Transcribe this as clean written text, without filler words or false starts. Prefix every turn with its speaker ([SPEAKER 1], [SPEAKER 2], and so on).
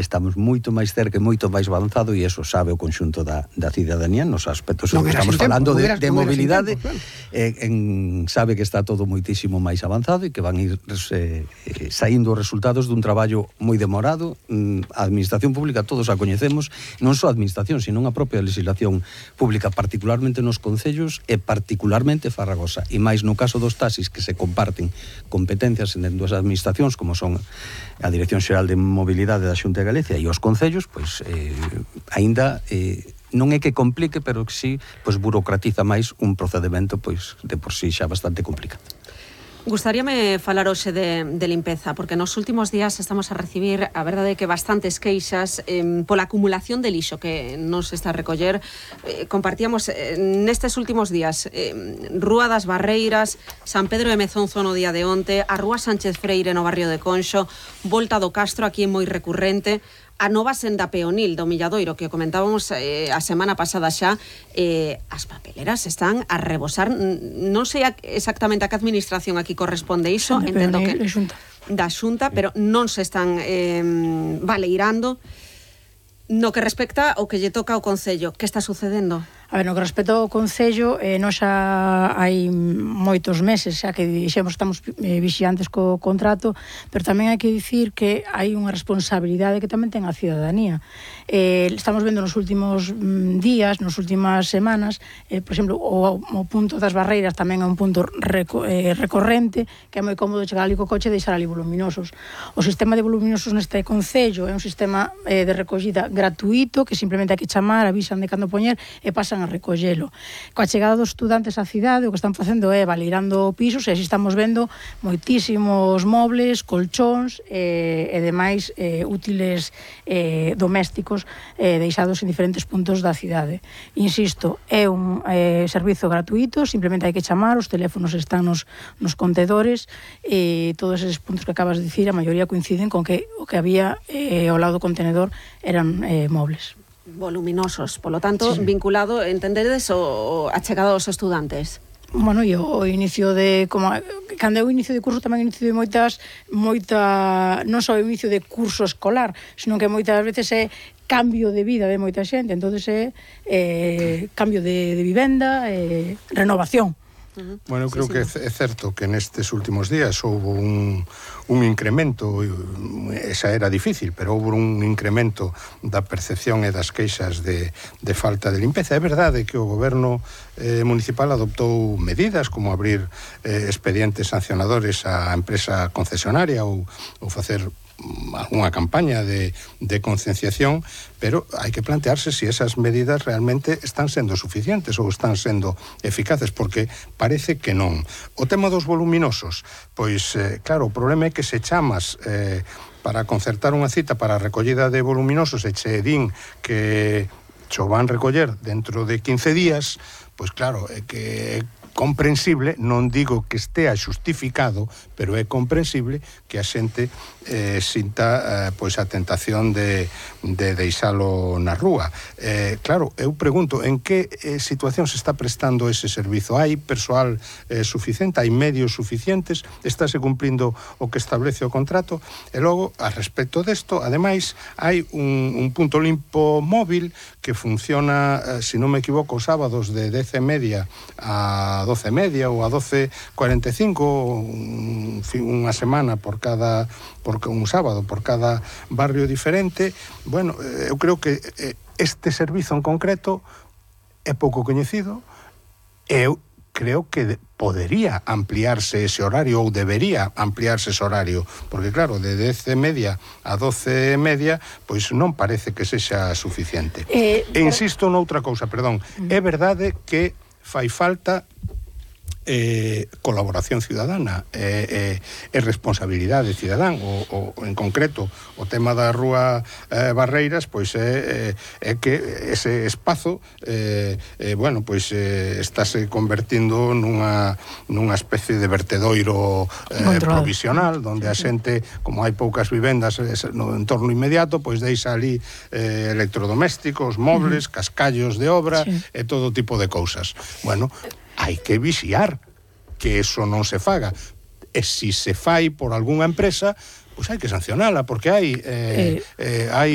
[SPEAKER 1] estamos moito máis cerca e moito máis avanzado, e eso sabe o conxunto da cidadanía nos aspectos que estamos falando de mobilidade, sabe que está todo moitísimo máis avanzado e que van ir saindo os resultados dun traballo moi demorado. A administración pública todos a coñecemos, non só a administración, sino a propia legislación pública, particularmente nos concellos e particularmente farragosa, e máis no caso dos taxis, que se comparten competencias en dúas administracións como son a Dirección Xeral de Mobilidade da Xunta de Galicia e os concellos, pois aínda non é que complique, pero que sí, pois burocratiza máis un procedimento pois de por sí xa bastante complicado.
[SPEAKER 2] Gustaríame falar hoxe de limpeza, porque nos últimos días estamos a recibir, a verdade, que bastantes queixas pola acumulación de lixo que nos está a recoller. Compartíamos nestes últimos días Rúa das Barreiras, San Pedro de Mezonzo no día de onte, a Rúa Sánchez Freire no barrio de Conxo, Volta do Castro, aquí é moi recurrente, a nova senda peonil do Milladoiro, que comentábamos a semana pasada xa. As papeleras están a rebosar. Non sei exactamente a que administración aquí corresponde iso, entendo que da Xunta, pero non se están baleirando. No que respecta ao que lle toca ao Concello, que está sucedendo?
[SPEAKER 3] A ver, no que respecta ao Concello, nós xa hai moitos meses xa que dixemos estamos vixiantes co contrato, pero tamén hai que dicir que hai unha responsabilidade que tamén ten a cidadanía. Estamos vendo nos últimos días, nas últimas semanas, por exemplo, o punto das Barreiras tamén é un punto recorrente, que é moi cómodo chegar ali co coche e deixar ali voluminosos. O sistema de voluminosos neste Concello é un sistema de recollida gratuito, que simplemente hai que chamar, avisan de cando poñer e pasan a recollelo. Coa chegada dos estudantes á cidade, o que están facendo é baleirando pisos, e así estamos vendo moitísimos mobles, colchóns e demais útiles domésticos deixados en diferentes puntos da cidade. Insisto, é un servizo gratuito, simplemente hai que chamar, os teléfonos están nos contedores, e todos eses puntos que acabas de dicir, a maioría coinciden con que o que había ao lado do contenedor eran mobles
[SPEAKER 2] voluminosos, polo tanto, sí, vinculado, entendedes, a chegada dos estudantes.
[SPEAKER 3] Bueno, e o inicio de, como cando é o inicio de curso, tamén o inicio de non só o inicio de curso escolar, senón que moitas veces é cambio de vida de moita xente, entonces é cambio de vivenda, renovación.
[SPEAKER 4] Bueno, eu creo que é certo que nestes últimos días houve un incremento, esa era difícil, pero houve un incremento da percepción e das queixas de falta de limpeza. É verdade que o goberno municipal adoptou medidas como abrir expedientes sancionadores á empresa concesionaria ou facer unha campaña de concienciación, pero hai que plantearse se esas medidas realmente están sendo suficientes ou están sendo eficaces, porque parece que non. O tema dos voluminosos, pois, claro, o problema é que se chamas para concertar unha cita para a recollida de voluminosos e che din que cho van recoller dentro de 15 días, pois claro, é que comprensible, non digo que estea xustificado, pero é comprensible que a xente sinta pois a tentación de deixalo na rúa. Claro, eu pregunto, en que situación se está prestando ese servizo? Hai persoal suficiente? Hai medios suficientes? Estáse cumplindo o que establece o contrato? E logo, a respecto desto, ademais, hai un punto limpo móvil que funciona, se non me equivoco, os sábados de 10:30 a 12:30 ou a 12:45, unha semana por un sábado por cada barrio diferente. Bueno, eu creo que este servizo en concreto é pouco coñecido. Eu creo que podería ampliarse ese horario, ou debería ampliarse ese horario, porque claro, de 10:30 a 12:30, pois non parece que sexa suficiente. E insisto noutra cousa, perdón, é verdade que fai falta colaboración ciudadana e responsabilidade cidadán, o en concreto o tema da Rúa Barreiras, pois é que ese espazo bueno, pois estáse convertindo nunha especie de vertedoiro provisional, onde a xente, como hai poucas vivendas no entorno inmediato, pois deixa ali electrodomésticos, mobles, cascallos de obra e todo tipo de cousas. Bueno, hai que vixiar que eso non se faga. E se se fai por algunha empresa, pois hai que sancionala, porque hai